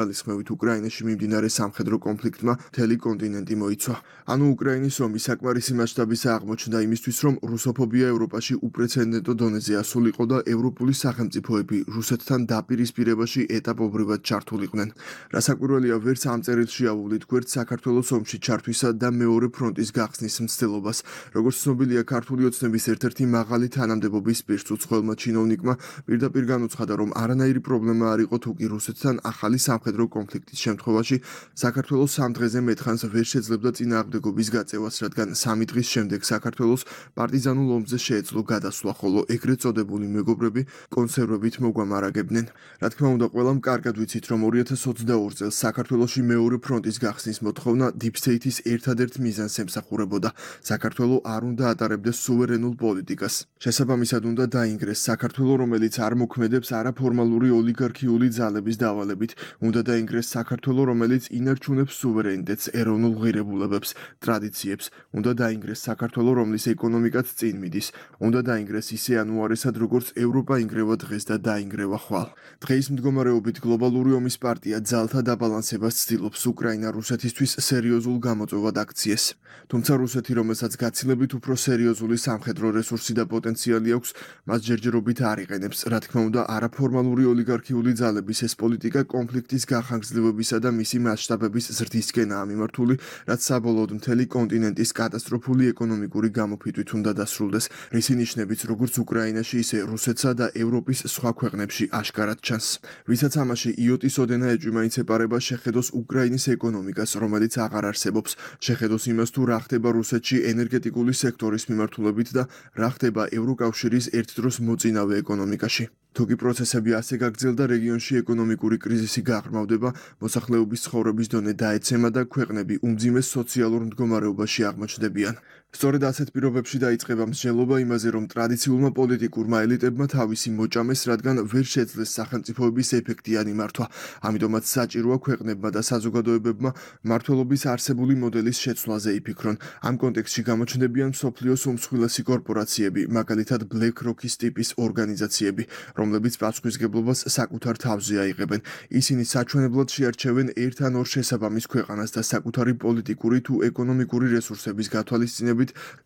ხმევით უკრაინაში მიმდინარე სამხედრო კონფლიქტმა მთელი კონტინენტი მოიცვა. ანუ უკრაინის ომი საკმარისი მასშტაბისა აღმოჩნდა იმისთვის, რომ რუსოფობია ევროპაში უპრეცედენტო დონეზე ასულიყო და ევროპული სახელმწიფოები რუსეთთან დაპირისპირებაში ეტაპობრივად ჩართულიყვნენ. რასაკვირველია, ვერც ამ წერილში ავუვლით გვერდ საქართველოს ომში ჩართვისა და მეორე ფრონტის გახსნის მცდელობას. როგორც ცნობილია, ქართული ოცნების ერთ-ერთი მაღალი თანამდებობის პირს უცხოელმა ჩინოვნიკმა პირდაპირ განუცხადა, რომ არანაირი პრობლემა არ იყო თუ კი რუსეთთან ახალი სამხედრო კონფლიქტის შემთხვევაში საქართველოს 3 დღეზე მეტხანს ვერ შეძლებდა წინააღმდეგობის გაწევას, რადგან 3 დღის შემდეგ საქართველოს პარტიზანულ ომზე შეეძლო გადასვლა, ხოლო ეგრეთ წოდებული მეგობრები კონსერვებით მოგვამარაგებდნენ. რა თქმა უნდა, ყველამ კარგად ვიცით, რომ 2022 წელს საქართველოში მეორე ფრონტის გახსნის მოთხოვნა Deep State-ის ერთადერთ მიზანს ემსახურებოდა. საქართველო არ უნდა ატარებდეს სუვერენულ პოლიტიკას. შესაბამისად უნდა დაინგრეს საქართველო, რომელიც არ მოქმედებს არაფორმალური ოლიგარქიული ძალების დავალებით. უნდა დაინგრეს საქართველო, რომელიც ინარჩუნებს სუვერენიტეტს, ეროვნულ ღირებულებებს, ტრადიციებს. უნდა დაინგრეს საქართველო, რომლის ეკონომიკაც წინ მიდის. უნდა დაინგრეს ისე ანუარესად, როგორც ევროპა ინგრევა დღეს და დაინგრევა ხვალ. დღეის მდგომარეობით გლობალური ომის პარტია ძალთა დაბალანსებას ცდილობს უკრაინა რუსეთისთვის სერიოზულ გამოწვევად აქციეს. თუმცა რუსეთი, რომელსაც გაცილებით უფრო სერიოზული სამხედრო რესურსი და პოტენციალი აქვს, მას ჯერჯერობით არ იყენებს. რა თქმა უნდა, არაფორმალური ოლიგარქიული ძალების ეს პოლიტიკა კონფლიქტის გახანგრძლივებისა და მისი მასშტაბების ზრდისკენაა მიმართული, რაც საბოლოოდ მთელი კონტინენტის კატასტროფული ეკონომიკური გამოფიტვით უნდა დასრულდეს, რისი ნიშნებიც როგორც უკრაინაში, ისე რუსეთსა და ევროპის სხვა ქვეყნებში აშკარად ჩანს. ვისაც ამაში იოტის ოდენა ეჭვი-მაინც ეპარება, შეხედოს უკრაინის ეკონომიკას, რომელიც აღარ არსებობს, შეხედოს იმას, თუ რა ხდება რუსეთში ენერგეტიკული სექტორის მიმართულებით და რა ხდება ევროკავშირის ერთდროს მოწინავე ეკონომიკაში. თუკი პროცესები ასე გაგრძელდა, რეგიონში ეკონომიკური კრიზისი გაღრმავდება, მოსახლეობის ცხოვრების დონე დაეცემა და ქვეყნები უმძიმეს სოციალურ მდგომარეობაში აღმოჩნდებიან. სწორედ ასეთ პირობებში დაიწყება მსჯელობა იმაზე, რომ ტრადიციულმა პოლიტიკურმა ელიტებმა თავისი მოჭამეს, რადგან ვერ შეძლეს სახელმწიფოების ეფექტიანი მართვა. ამიტომაც საჭიროა ქვეყნებმა და საზოგადოებებმა მმართველობის არსებული მოდელის შეცვლაზე იფიქრონ. ამ კონტექსტში გამოჩნდებიან მსოფლიოს უმსხვილესი კორპორაციები, მაგალითად BlackRock-ის ტიპის ორგანიზაციები, რომლებიც პასუხისგებლობას საკუთარ თავზე აიღებენ. ისინი საჩვენებლად შეარჩევენ ერთ ან ორ შესაბამის ქვეყანას და საკუთარი პოლიტიკური თუ ეკონომიკური რესურსების გათვალისწინებით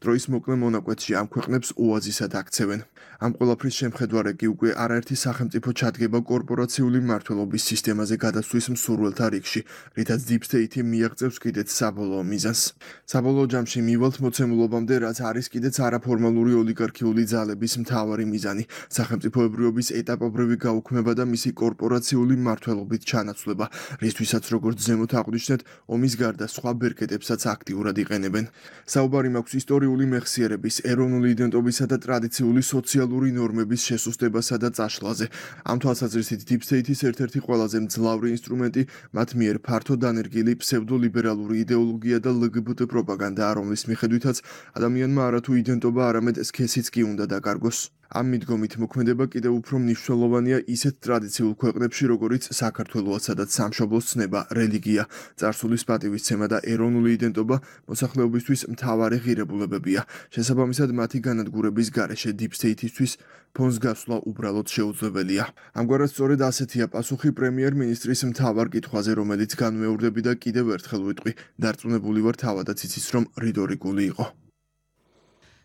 დროის მოკლე მონაკვეთში ამ ქვეყნებს ოაზისად აქცევენ. ამ ყველაფრის შემხედვარე კი უკვე არაერთი სახელმწიფო ჩადგება კორპორაციული მმართველობის სისტემაზე გადასვლის მსურველთა რიგში, რითაც Deep State მიაღწევს კიდეც საბოლოო მიზანს. საბოლოო ჯამში მივალთ მოცემულობამდე, რაც არის კიდეც არაფორმალური ოლიგარქიული ძალების მთავარი მიზანი, სახელმწიფოებრიობის ეტაპობრივი გაუქმება და მისი კორპორაციული მმართველობით ჩანაცვლება, რისთვისაც როგორც ზემოთ აღვნიშნეთ, ომის გარდა სხვა ბერკეტებსაც აქტიურად იყენებენ. საუბარი მაქვს ისტორიული მეხსიერების, ეროვნული იდენტობისა და ტრადიციული სოციალური ნორმების შესუსტებასა და წაშლაზე. ამ თვალსაზრისით Deep State-ის ერთ-ერთი ყველაზე მძლავრი ინსტრუმენტი მათ მიერ ფართო დანერგილი ფსევდოლიბერალური იდეოლოგია და LGBT პროპაგანდაა, რომლის მიხედვითაც ადამიანმა არათუ იდენტობა, არამედ სქესიც კი უნდა დაკარგოს. ამ მიდგომით მოქმედება კიდევ უფრო მნიშვნელოვანია ისეთ ტრადიციულ ქვეყნებში, როგორიც საქართველოა, სადაც სამშობლოს ცნება, რელიგია, წარსულის პატივისცემა და ეროვნული იდენტობა მოსახლეობისთვის მთავარი ღირებულებებია. შესაბამისად, მათი განადგურების გარეშე Deep State-ისთვის ფონს გასვლა უბრალოდ შეუძლებელია. ამგვარად სწორედ ასეთია პასუხი პრემიერ-მინისტრის მთავარ კითხვაზე, რომელიც განმეორდები და კიდევ ერთხელ ვიტყვი, დარწმუნებული ვარ თავადაც იცის, რომ რიტორიკული იყო.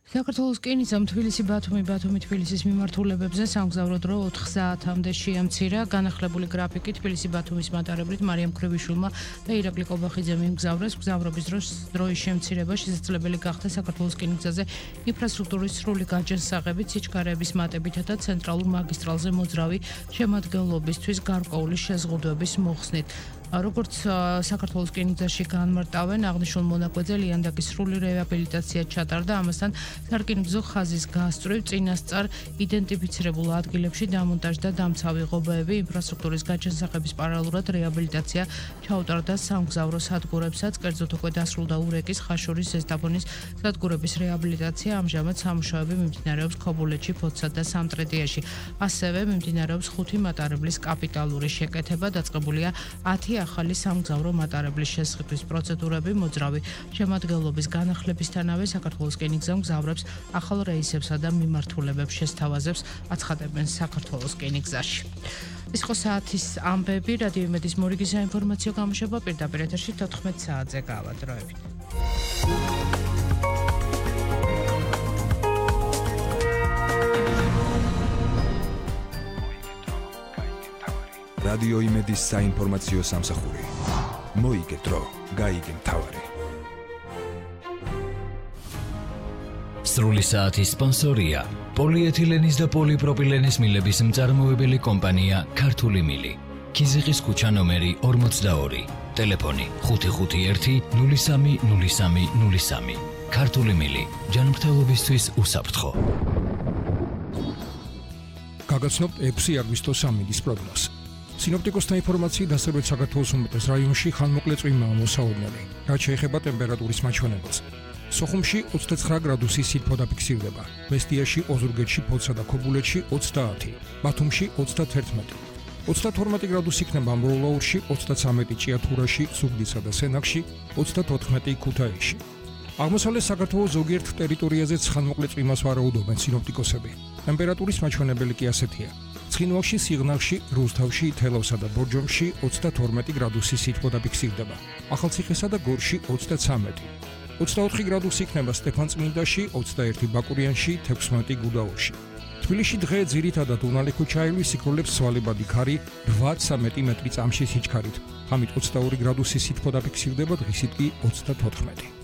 საქართველოს რკინიგზამ თბილისი-ბათუმი-ბათუმი-თბილისის მიმართულებებზე სამგზავრო დრო 4 საათამდე შეამცირა. განახლებული გრაფიკით თბილისი-ბათუმის მატარებლით მარიამ ქრებიშვილმა და ირაკლი კობახიძემ იმგზავრეს. მგზავრობის დროის შემცირება შესაძლებელი გახდა საქართველოს რკინიგზაზე ინფრასტრუქტურის სრული გაჯანსაღებით, სიჩქარეების მატებითა და ცენტრალურ მაგისტრალზე მოძრავი შემადგენლობისთვის გარკვეული შეზღუდვების მოხსნით. როგორც საქართველოს რკინიგზაში განმარტავენ, აღნიშნულ მონაკვეთზე ლიანდაგის სრული რეაბილიტაცია ჩატარდა, ამასთან სარკინიგზო ხაზის გასწვრივ წინასწარ იდენტიფიცირებულ ადგილებში დამონტაჟდა დამცავი ღობეები, ინფრასტრუქტურის გაჯანსაღების პარალელურად რეაბილიტაცია ჩაუტარდა სამგზავრო სადგურებსაც, კერძოდ უკვე დასრულდა ურეკის, ხაშურის, ზესტაფონის სადგურების რეაბილიტაცია, ამჟამად სამუშაოები მიმდინარეობს ქობულეთში, ფოთსა და სამტრედიაში. ასევე მიმდინარეობს 5 მატარებლის კაპიტალური შეკეთება, დაწყებულია 10 ახალი სამგზავრო მატარებლის შესყიდვის პროცედურები, მოძრავი შემადგენლობის განახლებისთანავე საქართველოს რკინიგზამ მგზავრებს ახალ რეისებსა და მიმართულებებს შესთავაზებს, აცხადებენ საქართველოს რკინიგზაში. ის ხო საათის ამბები, რადიო იმედის მორიგის საინფორმაციო გამოშვება პირდაპირ ეთერში 14 საათზე გავადროებით. რადიო იმედის საინფორმაციო სამსახური. მოიგე დრო, გაიგე მთავარი. სრული საათის სპონსორია პოლიეთილენის და პოლიპროპილენის მილების მწარმოებელი კომპანია ქართული მილი. ქიზიყის ქუჩა ნომერი 42. ტელეფონი 551 030303. ქართული მილი. ჯანმრთელობისთვის უსაფრთხო. გაგაცნობთ 6 აგვისტოს ამინდის პროგნოზს. სინოპტიკოსთა ინფორმაციით დასავლეთ საქართველოს უმეტეს რაიონში ხანმოკლე წვიმაა მოსაოდნელი, რაც შეეხება ტემპერატურის მაჩვენებელს. სოხუმში 29 გრადუსი სითბო დაფიქსირდება, მესტიაში, ოზურგეთში, ფოთსა და ქობულეთში 30, ბათუმში 31, 32 გრადუსი იქნება ამბროლაურში, 33 ჭიათურაში, ზუგდიდსა და სენაკში, 34 ქუთაისში. აღმოსავლეთ საქართველოს ზოგიერთ ტერიტორიაზეც ხანმოკლე წვიმას ვარაუდობენ სინოპტიკოსები. ტემპერატურის მაჩვენებელი კი ასეთია. ცხინვალში, სიღნაღში, რუსთავში, თელავსა და ბორჯომში 32 გრადუსი სითბო დაფიქსირდება, ახალციხესა და გორში 33. 24 გრადუსი იქნება სტეფანწმინდაში, 21 ბაკურიანში, 16 გუდაურში. თბილისში დღე ძირითადად უნალი ქუჩაევი სიკვდილებს სვალებადი ქარი 8-13 მეტრი წამში სიჩქარით. ღამით 22 გრადუსი სითბო დაფიქსირდება, დღისით კი 34.